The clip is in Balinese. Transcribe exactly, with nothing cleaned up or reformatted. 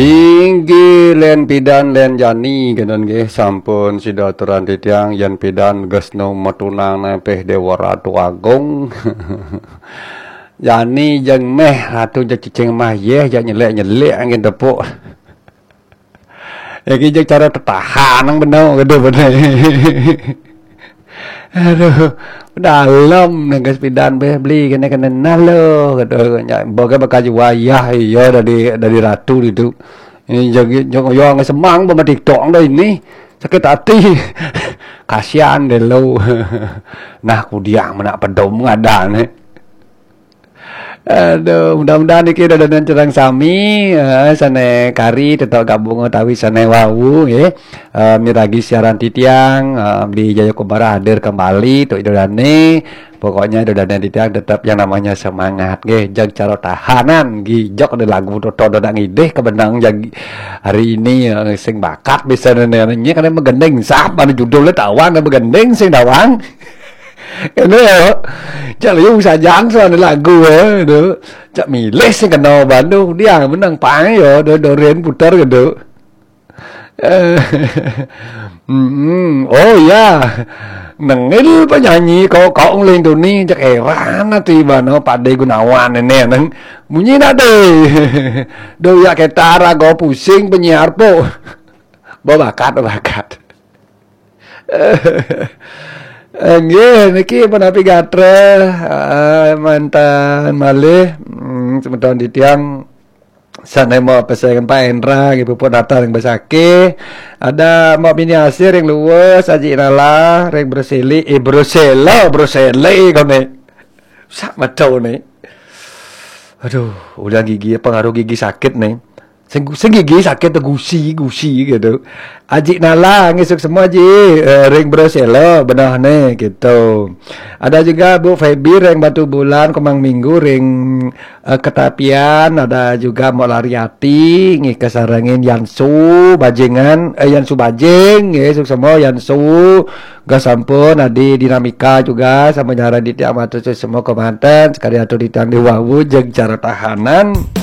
Inggih, len pidan len jani, kenen nggih, sampun sida aturan titiang, yen pidan gesno metunang nepeh Dewa Ratu Agung. Jani jeng meh ratu, jeg cicing mah yeh, jeg nyelek-nyelek angin tepuk. Iki jeg cara tetahan nang beno, gitu bene. Aduh, dalam nang gas pidan beh beli kene kene nalo, gitu. Nya boga bakal wayah iya dari dari ratu itu. Ini jadi jangan yang semang sama TikTok dah ini. Sakit hati. Kasihan deh lo. Nah, kudiang menak pedom ngadane. Aduh, mudah-mudahan niki dodonan cerang sami, eh, sane kari tetap gabung utawi sane wau, nggih. Eh, miragi siaran titiang, eh, Bli Jaya Kumbara hadir kembali untuk idodane. Pokoknya idodane titiang tetap yang namanya semangat, nggih. Jag cara tahanan, nggih. Jok ada lagu toto dodak ngidih kebenang jag hari ini, eh, sing bakat bisa nene karena megending sah pada judulnya tawang dan megending sing tawang. Kene ya. Cak liu sajan soal lagu ya, gitu. Cak milih sing kena bandu dia menang pang ya, do doren putar gitu. Eh, mm, oh ya, nengil penyanyi kau kau ngelindungi cak heran ati bano Pak De Gunawan ini neng bunyi nak deh. Do ya ketara kau pusing penyiar po. Babakat, babakat. Nggih, niki menapi gatra, eh, mantan malih, mm, semeton titiang sane mau pesengan Pak Endra, nggih, puput datang yang besake. Ada mau bini asir yang luwes, Aji Nala, yang berseli, eh, bersela, berseli kau ni. Sak macam ni. Aduh, udah gigi, pengaruh gigi sakit nih. Sing, sing gigi sakit tu gusi, gusi gitu. Ajik Nala ngisuk semua ji, eh, ring Brosela benah ne gitu. Ada juga Bu Feby ring Batu Bulan, Komang Minggu ring, eh, Ketapian, ada juga Mok Lariati ngi kesarengin Yansu Bajingan, eh, Yansu Bajing ngisuk semua Yansu. Ga sampun adi dinamika juga sama nyara di tiang matur semua komandan sekali atur di tiang di wawu jeg cara tahanan.